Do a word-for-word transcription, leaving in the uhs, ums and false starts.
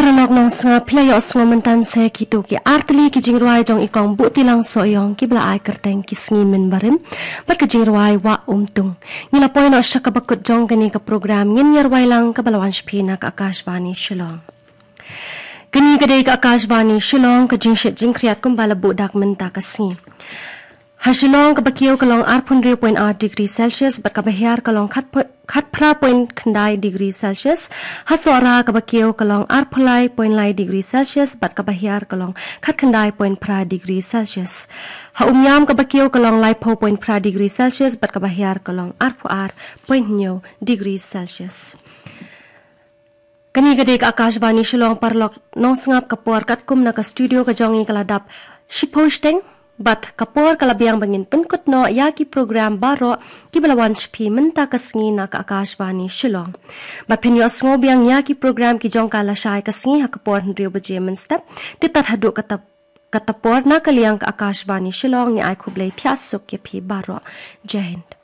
Paralok nongsngap, phi la ïohsngew mynta sa kito ki artylli ki jingrwai jong i Kong Buhtilang Sohiong kiba la ai kyrteng Ki Sngi Mynbarim bad ka jingrwai Wah Umtung. Ngi la poi noh sha kaba kut jong kane ka program, ngin ïa rwai lang kaba la wan sha phi na ka Akashvani Shillong. Kane ka dei ka Akashvani Shillong, ka jingshit jingkhriat kumba la buh dak mynta ka sngi. Ha Shillong kaba kiew ka long arphew hynriew point ar degree Celsius bad kaba hiar ka long khat po-, khatphra point khyndai degree Celsius. Ha Sohra kaba kiew ka long arphew lai point lai degree Celsius bad kaba hiar ka long khatkhyndai point phra degree Celsius. Ha Umiam kaba kiew ka long laiphew point phra degree Celsius bad kaba hiar ka long arphew ar point hynñiew degree Celsius. Kane ka dei ka Akashvani Shillong, paralok nongsngap, ka por katkum na ka studio ka jong ngi ka la dap shiphew shiteng bad ka por ka la biang ba ngin pynkut noh ïa ki program baroh kiba la wan sha phi mynta ka sngi na ka Akashvani Shillong. Bad phin ïohsngew biang ïa ki program ki jong ka lashai ka sngi ha ka por hynriew baje mynstep. Te tad haduh kata, kata por, na ka liang ka Akashvani Shillong, ngi ai khublei thiah suk ïa phi baroh. Jai Hind.